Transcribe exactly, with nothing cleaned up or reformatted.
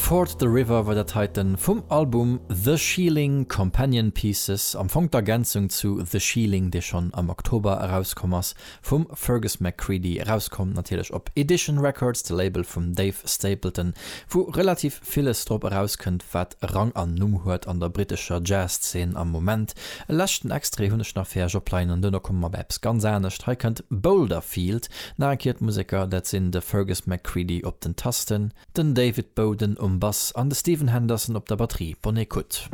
Ford the River war dat heiten vum Album The Shieling Companion Pieces, am Fong d'Ergänzung zu The Shieling, dee schonn am Oktober erauskomm ass, vum Fergus McCreadie, erauskomm natierlech op Edition Records, de Label vum Dave Stapleton, wou relativ villes drop erauskënnt, wat Rang an Numm huet an der brittescher Jazz-Zeen am Moment. E leschten Extrait hunn ech nach fir iech opleien an duerno komme mer bei eppes ganz anescht. Hei kënnt Boulderfield, nach eng Kéier d'Museker, dat sinn de Fergus McCreadie op den Tasten, den David Bowden um Bass an de Stephen Henderson op der Batterie. Bonne écoute.